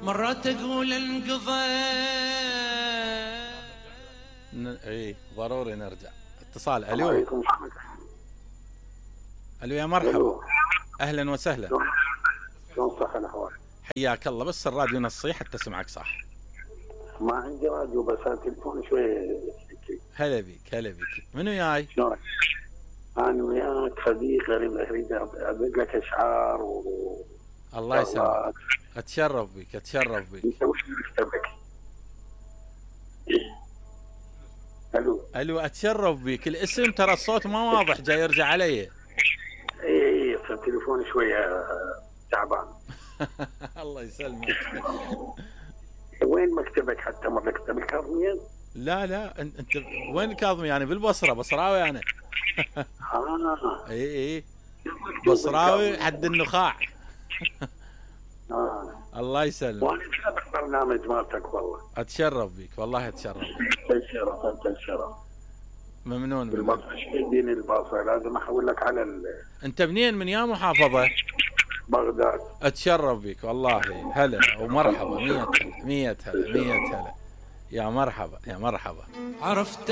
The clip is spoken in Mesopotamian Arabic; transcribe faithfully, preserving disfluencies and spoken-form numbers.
مرات اقول انقضى. ن... اي ضروري نرجع. اتصال. الو. عليكم. الو يا مرحبا. الو. اهلا وسهلا. شلون صح الاحوال؟ حياك الله، بس الراديو نصي حتى اسمعك صح. ما عندي راديو بس التليفون شوي. هلا بيك هلا بيك. منو جاي؟ شلونك؟ انا وياك صديق اريد ادق لك اشعار و الله يسلمك. اتشرف بك اتشرف بك. انت وش مكتبك؟ الو. الو اتشرف بك. الاسم ترى الصوت ما واضح، جاي يرجع علي. اي اي التليفون شويه تعبان. الله يسلمك. وين مكتبك حتى مر مكتب الكاظميين؟ لا لا انت وين الكاظمي؟ يعني بالبصره، بصراوي انا. اه اي اي بصراوي حد النخاع. اه الله يسلمك. وانا اتابع برنامج مالتك والله. اتشرف بك والله اتشرف بك. الشرف انت الشرف. ممنون منك. بالبصره شديني البصره، لازم احول لك على ال... انت منين؟ من يا محافظه؟ بغداد. اتشرف بك والله. هلا ومرحبا. مية هلا مية هلا مية هلا. يا مرحبا يا مرحبا. عرفت